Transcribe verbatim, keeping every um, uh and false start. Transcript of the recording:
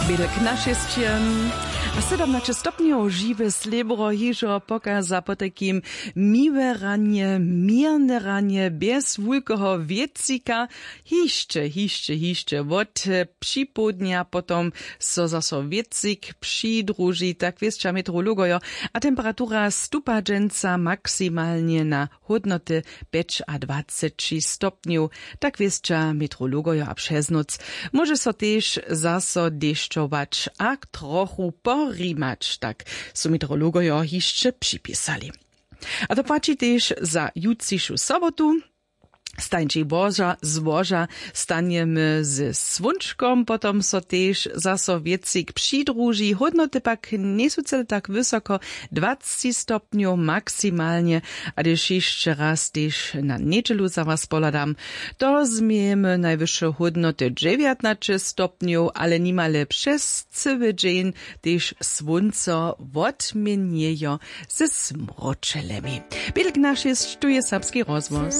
Bědek na šěsće a sydomnaće stopnjow. Žiwe slěbro hižo pokaza potajkim miłe ranje, měrne ranje bjez wulkeho wětřika. Hišće hišće hišće wot připołdnja potom so zaso wětřik přidruži, tak wěsća meteorologojo. A temperatura stupa dźensa maksimalnje na hódnoty pjećadwaceći stopnjow, tak wěsća meteorologojo a přez nóc móže so tež zaso dešćować a trochu porimać, tak su meteorologojo hišće připisali. A to płaći tež za jutřišu sobotu. Stańćej boža złoža, stanjemy ze słónčkom, potom so tež zaso wětřik přidruži, hódnoty pak njejsu cyle tak wysoko, dwacci stopnjow maksimalnje. A hdyž hišće raz tež na njedźelu za was pohladam, to změjemy najwyše hódnoty dźewjatnaće stopnjow, ale nimale přez cyły dźeń tež słónco wotměnjejo ze smróčelemi. Bědek na šěsć, tu je serbski rozhłos.